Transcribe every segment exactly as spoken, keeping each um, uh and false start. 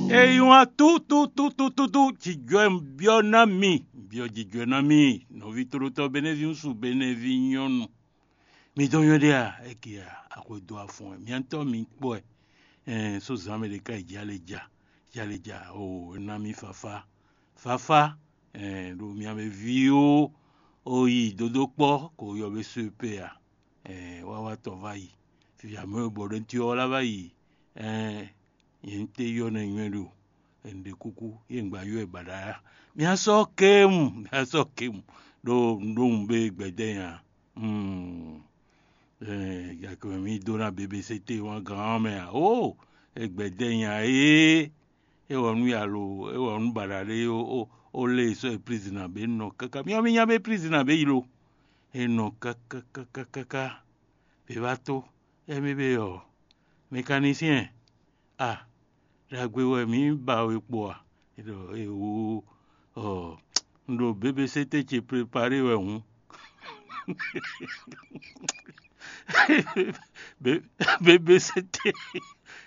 Eyi wá tútútútútú jijɔɛ byɔ́ ná mi, byɔ́ jijɔɛ ná mi, nɔví tlólótɔ́ Benɛ́ví ŋúsu Benɛ́ví nyɔ́nu. Mi dɔn nywɛ́ ɖé a? Eke a? Axwedó afɔn ɛ, miatɔ́ mi kpɔ́ ɛ. Ɛn só zǎn mɛ ɖé ká yi jɛ alɛ ja, jɛ alɛ ja, o é ná mi fafá, fafá. Ɛn ɖo mia mɛ ví ó, o yi dodó kpɔ́ ko yɔ bé só e pé a? Ɛn wá wá tɔn vá yi, fifia mɛ e bɔ ɖó ntí ɔ́ lá vá yi. Ɛn nyɛ un te yɔ nɛ nywɛ́ ɖo, un ɖe kúkú, yé un gba yɔ ɛ baɖa ya. Mia sɔ́ kéwun, mia sɔ́ kéwun, ɖó un ɖó wun bé gbɛdɛ́ nya. Gake mɛ mì dó ná bebesete wán gán ɔ́ mɛ ǎ. Ó, é gbɛdɛ́ nya é, é wɔ nú yalo, é wɔ nú baɖa ɖé ó, ó lé sɔ́ e prizina bě nɔ káká. Mì ɔ́ mì nya bé prizina bě yi lo. É nɔ káká káká káká. Bě wá tó, émí bé ɔ́, mɛkanisíɛn, a ɖagbe wɛ mǐ ba we kpo a? É ɖɔ éwo ɔ, un ɖo bébesete ce preparé wɛ hǔn. Bébesete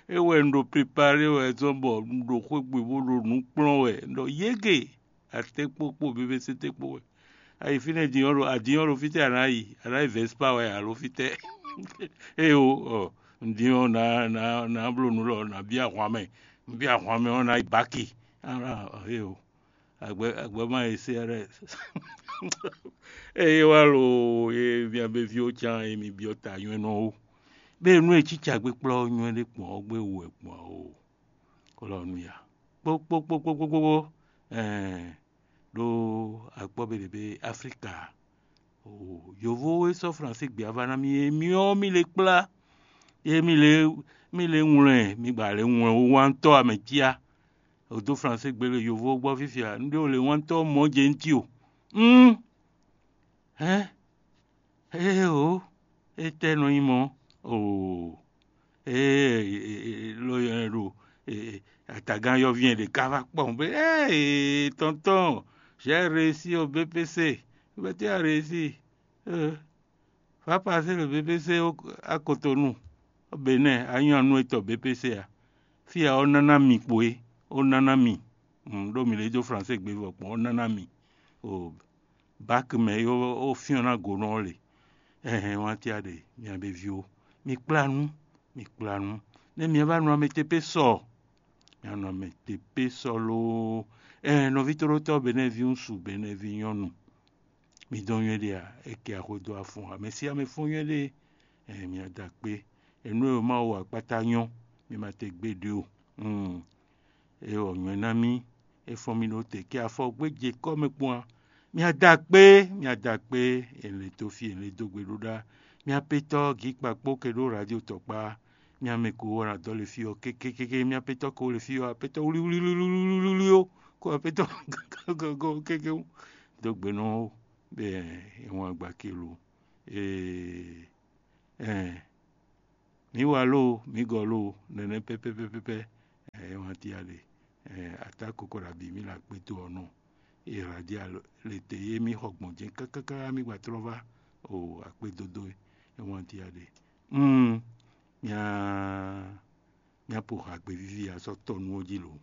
é wɛ un ɖo preparé wɛ zɔn bɔ un ɖo xwé gbe bó ɖo nǔ kplɔ́n wɛ, un ɖɔ yége. Atekpo kpo bébesete kpo wɛ. Ayi fínɛ́ din ɔ́ ɖo adin ɔ́ ɖo fítɛ́ a nǎ yi, a nǎ yi vɛ̌spa wɛ alo fítɛ́? Éyo ɔ, un din ɔ́ ná ná ná bló nǔ lɔ nǎ byɔ́ ahwan mɛ, un byɔ́ ahwan mɛ ɔ́ ná yi báki. Éyo agbɛ agbɛ má yi sé rɛ. Eye wá lo ye mia bɛ ví ó can e mi byɔ́ ta nywɛ́nɔ ó. Bẹ́ẹ̀ nú e cíca gbé kplɔ́ nywɛ́ ɖé kpɔn ɔ́ gbé wú wɛ kpɔn o. Kɔlɔnuya kpókpókpókpókpó ɛɛ ɖó akpɔ́ be ɖě be Aflíka. Yovo e sɔ́ Fransé gbé ava ná mì é myɔ mì le kplá, é mì le mì le ŋwlɛ mì gba le ŋwlɛ wúwántɔ́ amɛcia. O dó Fransé gbé le yovo gbɔ fifia, un ɖé o le wántɔ́ mɔ jɛ nti o. Un hɛn Éeǒ, étɛ́ nɔ nyí mɔ̌? Oo, ee, lo nyɛ ɖo atagán yɔ́ví nyɛ ɖě ká vá kpɔ́n bɔ é tɔntɔ́n, j'ai réussi au B P C. Bɛ́tɛ́ a réussi? Va passer le B P C à Cotonou, Bénin, a nyɔ́ nú étɔn B P C a? Fí a ɔ́ ná ná mi kpo é, ó ná ná mi. Ɖó mi lě dó Fransé gbé vɔ kpɔ́n, ó ná ná mi. Báki mɛ e ó fyɔ́n ná go nú ɔ́ le. Ɛhɛn, wántí a ɖe, mia be ví ó, mi kplá nú, mi kplá nú. Nɛ́ mia vá nɔ amɛ tepé sɔ, mia nɔ amɛ tepé sɔ loo. Ɛhɛn, nɔví tóɖótɔ́ Benɛ́ví ŋúsu, Benɛ́ví nyɔ́nu, mi dɔn nywɛ́ ɖe a? É kɛ axwé dó afɔn, amɛ sí amɛ fɔ́n nywɛ́ ɖe. Ɛhɛn, mia da kpé. Enu e Mawu wa kpátá nyɔ́, mi ma te gbé ɖě o. É wɔ nywɛ ná mì, é fɔ́n mì ɖó te kɛ afɔ gbé je kɔ́ mɛ kpɔ́n a? Mia da kpé, mia da kpé, è lě dó fí, è lě dó gbe ɖó ɖá. Mia pétɔ́ gǐ kpakpó ke ɖó radio tɔkpá. Mia mɛ ko wɔ na dɔ le fí ɔ́ kékékéké, mia pétɔ́ ko le fí ɔ́, apétɔ́ wlíwlíwlíwlí ó, ko apétɔ́ kéké dó gbe nɔ ó, bɛ é wɔn agba ke lo. Ee, ɛɛ, mǐ wa lóo, mǐ gɔ lóo, nɛnɛ pɛ́pɛ́pɛ́pɛ́, ɛ é wán tíá ɖe. Ɛ atá koko ɖo abǐ mì le akpétó ɔ́ nɔ. E hǎ ɖi alɔ le te yé mì xɔ gbɔn jɛ́n kákáká mì gba tlɔ́ vá o akpédódó é wán tíá ɖe. Mm, mia mia po hǎgbe víví a sɔ́ tɔ nú ó jí lo.